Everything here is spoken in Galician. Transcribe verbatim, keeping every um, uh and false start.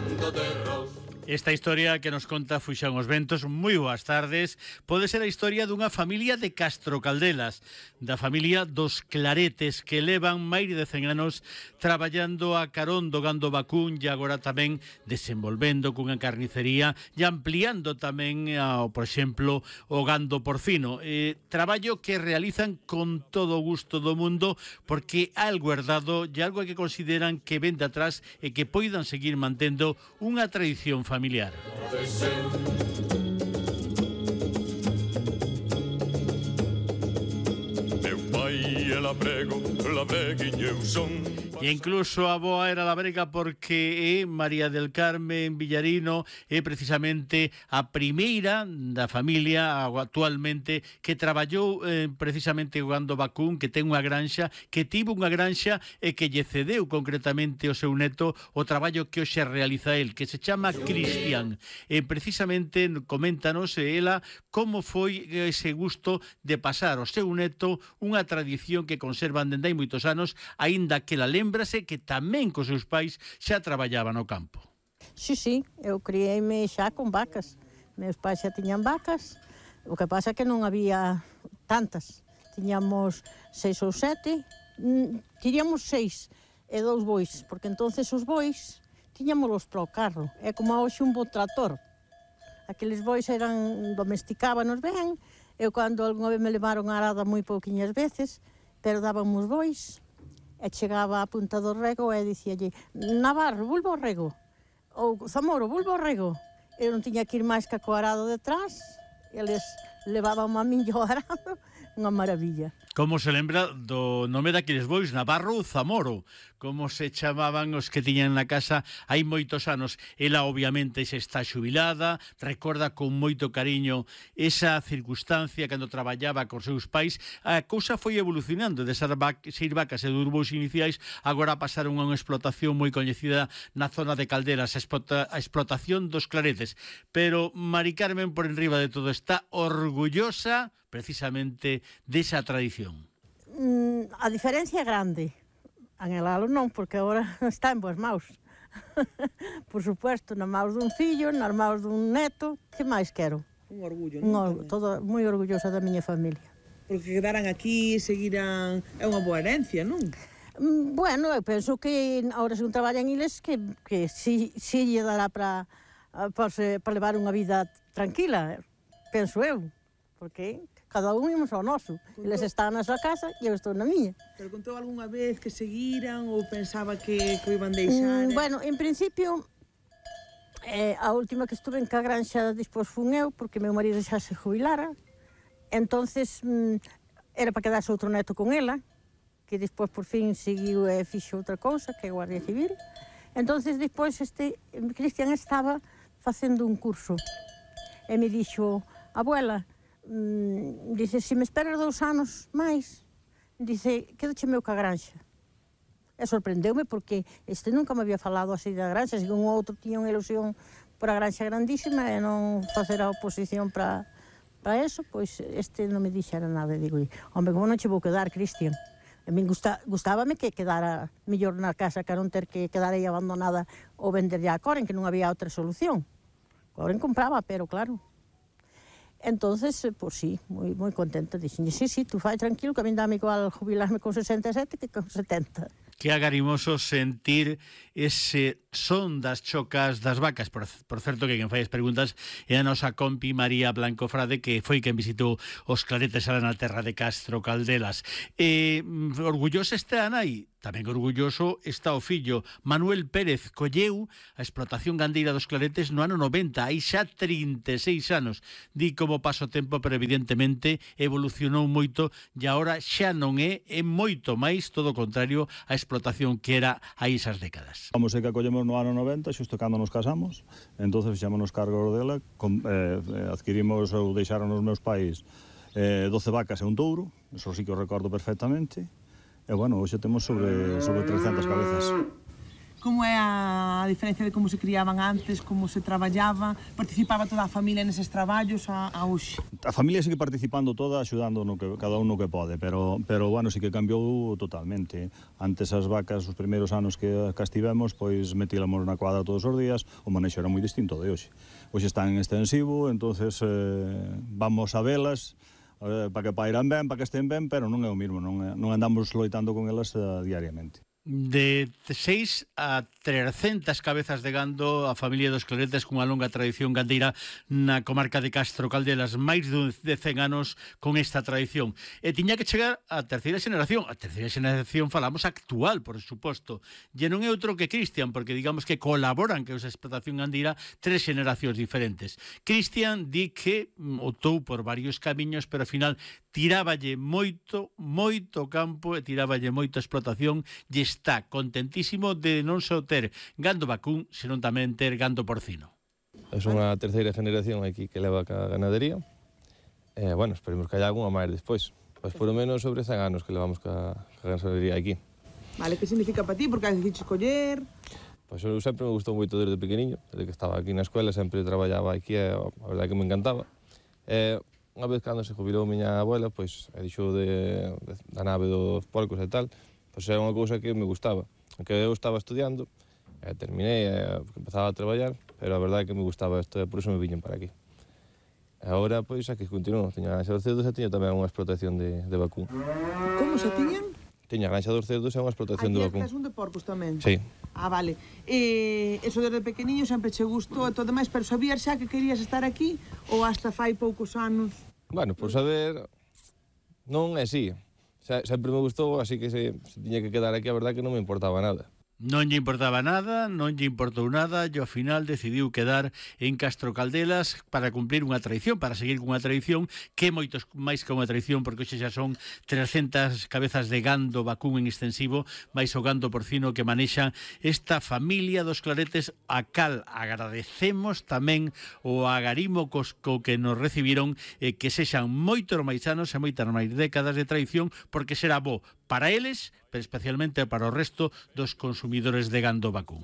mundo de Ross. Esta historia que nos conta Fuxán os Ventos, moi boas tardes, pode ser a historia dunha familia de Castro Caldelas, da familia dos Claretes, que levan máis de cen anos traballando a carón do gando vacún e agora tamén desenvolvendo cunha carnicería e ampliando tamén, ao, por exemplo, o gando porcino. Eh, traballo que realizan con todo o gusto do mundo porque algo herdado e algo que consideran que ven de atrás e que poidan seguir mantendo unha tradición familiar. familiar. Meu pai é labrego, labreguinho eu son. E incluso a boa era labrega porque é María del Carmen Villarino é precisamente a primeira da familia actualmente que traballou eh, precisamente o gando vacún, que ten unha granxa, que tivo unha granxa e que lle cedeu concretamente o seu neto o traballo que hoxe realiza el, que se chama Cristian. E precisamente coméntanos ela como foi ese gusto de pasar ao seu neto unha tradición que conservan dende hai moitos anos, aínda que la lembrase que tamén cos seus pais xa traballaba no campo. Sí, sí, eu criei-me xa con vacas. Meus pais xa tiñan vacas, o que pasa é que non había tantas. Tiñamos seis ou sete, tiñamos seis e dous bois, porque entonces os bois tiñámolos para o carro. É como hoxe un bo trator. Aqueles bois eran, domesticábanos ben. Eu cando algunha vez me levaron a arada moi pouquiñas veces, pero dábamos bois, e chegaba a punta do rego e dicíalle Navarro, volvo ao rego, ou Zamoro, volvo ao rego. Eu non tiña que ir máis que co arado detrás, eles levaban a min ao arado, unha maravilla. Como se lembra do nome daqueles bois, Navarro ou Zamoro, como se chamaban os que tiñan na casa hai moitos anos. Ela obviamente se está xubilada, recorda con moito cariño esa circunstancia cando traballaba cos seus pais. A cousa foi evolucionando de ser seis vacas e dos bois iniciais, agora pasaron a unha explotación moi coñecida na zona de Caldelas, a, explota, a explotación dos Claretes. Pero Mari Carmen, por enriba de todo, está orgullosa precisamente desa tradición. Mm, a diferencia é grande. Anhelalo non, porque agora está en boas maus. Por supuesto, na maus dun fillo, nas maus dun neto, que máis quero? Un orgullo, Un, non? todo, moi orgullosa da miña familia. Porque quedaran aquí, seguiran... É unha boa herencia, non? Mm, bueno, eu penso que agora se non traballan iles, que, que si, si lle dará para para levar unha vida tranquila, penso eu, porque cada un imos ao noso. Eles están na súa casa e eu estou na miña. Pero contou algunha vez que seguiran ou pensaba que, que o iban deixar? Mm, bueno, en principio, eh, a última que estuve en ca granxa despois fun eu, porque meu marido xa se jubilara. Entonces, mm, era para quedarse outro neto con ela, que despois por fin seguiu e fixo outra cousa, que é Guardia Civil. Entonces, despois, este Cristian estaba facendo un curso e me dixo, abuela, Mm, dice, se me esperas dous anos máis, dice, quedoche meu ca granxa. E sorprendeume porque este nunca me había falado así da granxa, se un outro tiña unha ilusión por a granxa grandísima e non facer a oposición para para eso, pois este non me dixera nada. E digo, home, como non che vou quedar, Cristian? A min gusta, gustábame que quedara mellor na casa que non ter que quedar aí abandonada ou venderlle a Coren, que non había outra solución. Coren compraba, pero claro. Entonces, pues sí, moi, moi contenta. Dixenlle, sí, sí, tú fai tranquilo, que a min dame igual jubilarme con sesenta e sete que con setenta. Que agarimoso sentir ese son das chocas das vacas. Por, por certo, que quen fai as preguntas é a nosa compi María Blanco Frade, que foi quen visitou os Claretes ala na terra de Castro Caldelas. Eh, orgullosa está a nai, tamén orgulloso está o fillo. Manuel Pérez colleu a explotación gandeira dos Claretes no ano noventa, hai xa trinta e seis anos. Di como paso o tempo, pero evidentemente evolucionou moito e agora xa non é, é moito máis, todo o contrario, a explotación que era hai esas décadas. Vamos, é que acollemos no ano noventa, xusto cando nos casamos, entonces fixámonos cargo dela, com, eh, adquirimos ou deixaron os meus pais eh, doce vacas e un touro, eso sí que o recordo perfectamente, e bueno, hoxe temos sobre, sobre trescentas cabezas. Como é a diferencia de como se criaban antes, como se traballaba? Participaba toda a familia neses traballos a, a hoxe? A familia sigue participando toda, axudando no que, cada un no que pode, pero, pero bueno, sí que cambiou totalmente. Antes as vacas, os primeiros anos que, que estivemos, pois metíamos na cuadra todos os días, o manexo era moi distinto de hoxe. Hoxe están en extensivo, entonces eh, vamos a velas, eh, para que pairan ben, para que estén ben, pero non é o mismo, non, é, non andamos loitando con elas eh, diariamente. De seis a trescentas cabezas de gando a familia dos Claretes cunha longa tradición gandeira na comarca de Castro Caldelas, máis de cen anos con esta tradición. E tiña que chegar a terceira xeración. A terceira xeración falamos actual, por suposto. E non é outro que Cristian, porque digamos que colaboran que esa explotación gandeira tres xeracións diferentes. Cristian di que optou por varios camiños, pero ao final tiráballe moito, moito campo e tiráballe moita explotación e está contentísimo de non só ter gando vacún, senón tamén ter gando porcino. É unha terceira generación aquí que leva a ganadería. E, bueno, esperemos que haya algunha máis despois. Pois por lo menos sobre cen anos que levamos ca, ca ganadería aquí. Vale, que significa para ti? Porque has decidido escoller? Pois eu sempre me gustou moito desde pequeniño, desde que estaba aquí na escuela, sempre traballaba aquí e a verdade que me encantaba. E, unha vez cando se jubilou a miña abuela, pois e dixou de, de, da nave dos porcos e tal, pois é unha cousa que me gustaba. Aunque eu estaba estudiando, e terminei, e empezaba a traballar, pero a verdade é que me gustaba isto, e por iso me viñen para aquí. E agora, pois, aquí continuo. Tiña a granxa dos cerdos e tiña tamén unha explotación de, de vacún. Como se tiñan? Tiña a granxa dos cerdos e unha explotación de vacún. Aquí un de porcos tamén? Sí. Ah, vale. E eso desde pequeniño sempre che gustou e todo demais, pero sabías xa que querías estar aquí ou hasta fai poucos anos? Bueno, por saber, non é así. Sempre me gustou, así que se, se tiña que quedar aquí, a verdade que non me importaba nada. Non lle importaba nada, non lle importou nada e ao final decidiu quedar en Castro Caldelas para cumplir unha tradición, para seguir cunha tradición que é moitos máis que unha tradición, porque hoxe xa son trescentas cabezas de gando vacún en extensivo, máis o gando porcino que manexa esta familia dos Claretes, a cal agradecemos tamén o agarimo co que nos recibiron, eh, que sexan moitos máis anos e moitas máis décadas de tradición, porque será bo para eles, pero especialmente para o resto dos consumidores de gando vacún.